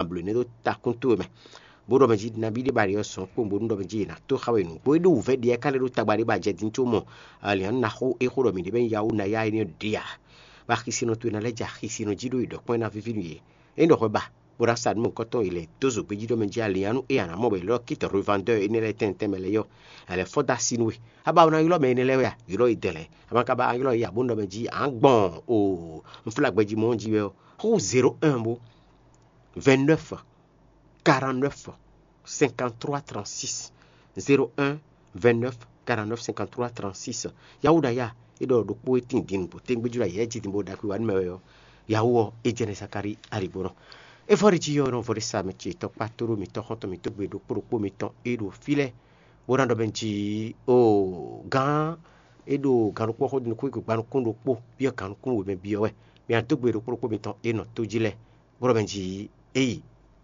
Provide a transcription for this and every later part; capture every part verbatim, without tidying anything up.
blǒ énɛ́ ɖó takún towe mɛ, bó ɖɔ mɛ jí nabí ɖé ba ɖě ɔ́ sɔn kpowun bónú ɖɔ mɛ jí è nǎ tó xa we nǔgbó. É ɖo wǔvɛ́ ɖi ɛ ká lɛ́ ɖó tagba ɖé ba jɛ din có mɔ aliǎn ná xó é xó ɖɔ mǐ ɖě bɛ́ nyí Yawu ná yá énɛ́ ɖě ǎ. Bɔ axisinɔ towe ná lɛ́ jɛ axisinɔ jí ɖó yi ɖɔ kpɔ́n é ná víví nú yě. É ɖɔ hwɛ ba, bó ná sa nǔ mɔ̌hunkɔtɔn e lɛ̌ dó zǒgbé jí ɖɔ mɛ jí aliǎn nú é ǎ ná mɔ bɔ è lɛ́ ɖɔ kit revandeur énɛ́ lɛ́ɛ tɛnmɛ tɛnmɛ lɛ́ɛ yɔ, è lɛ́ fɔ́n dó así nú we. A ba ná ylɔ́ mɛ énɛ́ lɛ́ɛ wɛ a? Ylɔ́ yi dɛ̌lɛ̌. A ma ka ba ylɔ́ yi ǎ bónú ɖɔ mɛ jí ǎ gbɔn o, un flá gbɛjí mɔ jí wɛ ɔ́, xó zěro un bó vingt-neuf, quarante-neuf, cinquante-trois, trente-six, zéro un, vingt-neuf, quarante-neuf, cinquante-trois, trente-six. Yawuɖaya é ɖɔ ɖokpó e tín din nǔgbó tégbéjú la yɛ jí din bó ɖo ɖakpé wa nú mɛ wɛ ɔ́, yawu ɔ́ é jɛ nɛ Zakalíi aligbónɔ. É vɔ ɖi jí ɔ́ nɔ vɔ ɖé sa mɛ ce tɔkpá tóɖó mǐtɔn xɔ́ntɔn mǐtɔn gbe ɖokpó ɖokpó mǐtɔn é ɖo fí lɛ́ɛ, bó ná ɖɔ mɛ jí o gán é ɖo gǎn ɖokpó xó din nukún gbe gba nukún ɖokpó byɔ́ gǎn nukún wěmɛ byɔ́ wɛ. Mǐ dó gbe ɖokpó ɖokpó mǐtɔn é nɔ tó jí lɛ́ɛ, bó ɖɔ mɛ jí é yi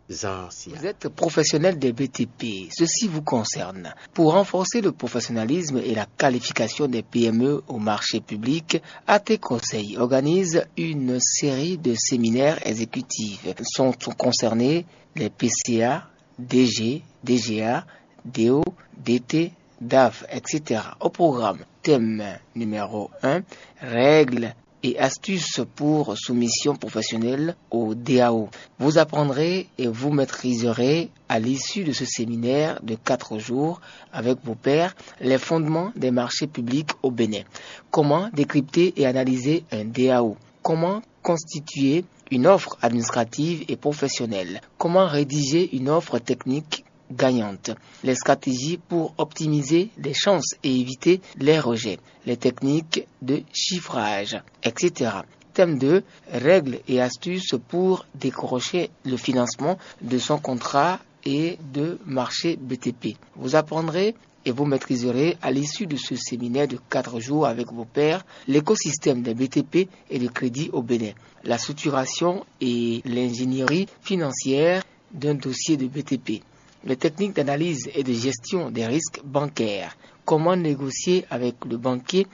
zan sia. Vous êtes professionnel des B T P, ceci vous concerne. Pour renforcer le professionnalisme et la qualification des P M E au marché public, A T Conseil organise une série de séminaires exécutifs. Sont concernés les P C A, D G, D G A, D O, D T, D A F, et cetera. Au programme, thème numéro un, règles et astuces pour soumission professionnelle au D A O. Vous apprendrez et vous maîtriserez à l'issue de ce séminaire de quatre jours avec vos pairs les fondements des marchés publics au Bénin. Comment décrypter et analyser un D A O? Comment constituer une offre administrative et professionnelle? Comment rédiger une offre technique gagnante? Les stratégies pour optimiser les chances et éviter les rejets, les techniques de chiffrage, et cetera. Thème deux, règles et astuces pour décrocher le financement de son contrat et de marché B T P. Vous apprendrez et vous maîtriserez à l'issue de ce séminaire de quatre jours avec vos pairs l'écosystème des B T P et le crédit au Bénin, la structuration et l'ingénierie financière d'un dossier de B T P, les techniques d'analyse et de gestion des risques bancaires, comment négocier avec le banquier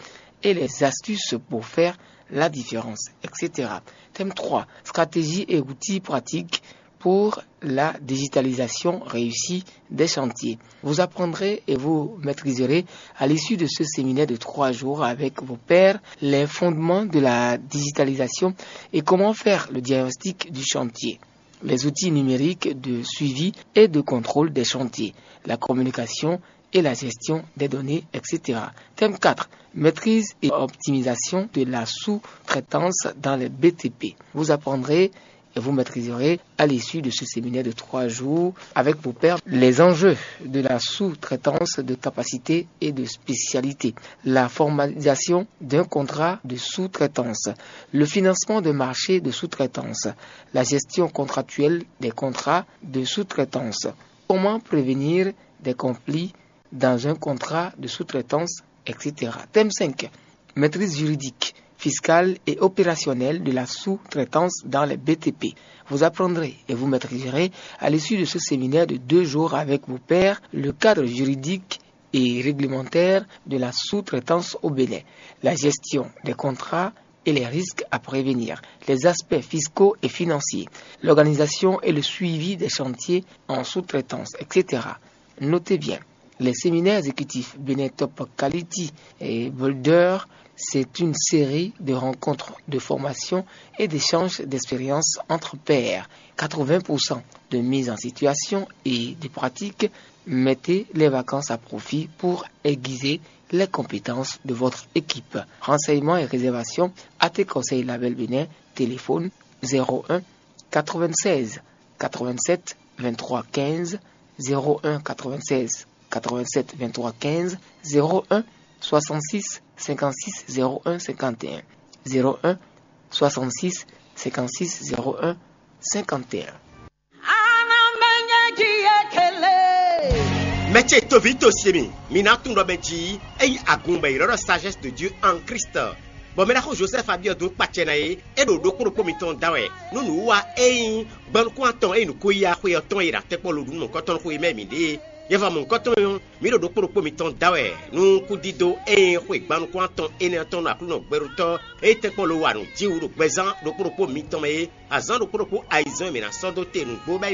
et les astuces pour faire la différence, et cetera. Thème trois, stratégie et outils pratiques pour la digitalisation réussie des chantiers. Vous apprendrez et vous maîtriserez à l'issue de ce séminaire de trois jours avec vos pairs les fondements de la digitalisation et comment faire le diagnostic du chantier, les outils numériques de suivi et de contrôle des chantiers, la communication et la gestion des données, et cetera. Thème quatre, maîtrise et optimisation de la sous-traitance dans les B T P. Vous apprendrez et vous maîtriserez à l'issue de ce séminaire de trois jours avec vos pairs les enjeux de la sous-traitance de capacité et de spécialité, la formalisation d'un contrat de sous-traitance, le financement de marchés de sous-traitance, la gestion contractuelle des contrats de sous-traitance, comment prévenir des conflits dans un contrat de sous-traitance, et cetera. Thème cinq, maîtrise juridique, fiscale et opérationnelle de la sous-traitance dans les B T P. Vous apprendrez et vous maîtriserez à l'issue de ce séminaire de deux jours avec vos pairs le cadre juridique et réglementaire de la sous-traitance au Bénin, la gestion des contrats et les risques à prévenir, les aspects fiscaux et financiers, l'organisation et le suivi des chantiers en sous-traitance, et cetera. Notez bien, les séminaires exécutifs Bénin Top Quality et Boulder, c'est une série de rencontres, de formations et d'échanges d'expériences entre pairs. Quatre-vingts pour cent de mise en situation et de pratique. Mettez les vacances à profit pour aiguiser les compétences de votre équipe. Renseignements et réservations, A T Conseil Label Bénin, téléphone zéro un quatre-vingt-seize quatre-vingt-sept vingt-trois quinze, zéro un quatre-vingt-seize quatre-vingt-sept vingt-trois quinze, zéro un soixante-six cinquante-six zéro un cinquante et un, zéro un soixante-six cinquante-six zéro un cinquante et un. Mɛ ce toví to se mi, mi ná tunwun ɖɔ mɛ jí é nyí agun bɔ è ylɔ́ ɖɔ sagesse de Dieu en Christ. Bɔ mɛ ɖaxó Josɛ́f Abiɔdu kpacɛ ná é, é ɖo ɖokpó ɖokpó mitɔn da wɛ nú nǔwiwa e nyí gbɛnukún atɔn e nyí nǔkó-yíyá xwe ɔ́ tɔn e ɖo atɛkpɔ́ Lodunu mɔ̌hunkɔtɔn xwé mɛ mǐ ɖe é. Nyɛ va mɔ̌hunkɔtɔn ɔ́, mǐ ɖo ɖokpó ɖokpó mitɔn da wɛ nú kúdídó e nyí xwe gbɛnukún atɔn énɛ́ ɔ́ tɔn nú Aklúnɔ gbɛɖótɔ́ e tɛ́nkpɔ́n lo wa nǔ jí wú ɖo gbɛzán ɖokpó ɖokpó mitɔn mɛ é. Azǎn ɖokpó ɖokpó ayizɛ́n e mǐ ná sɔ́ dó te nǔgbó bɔ é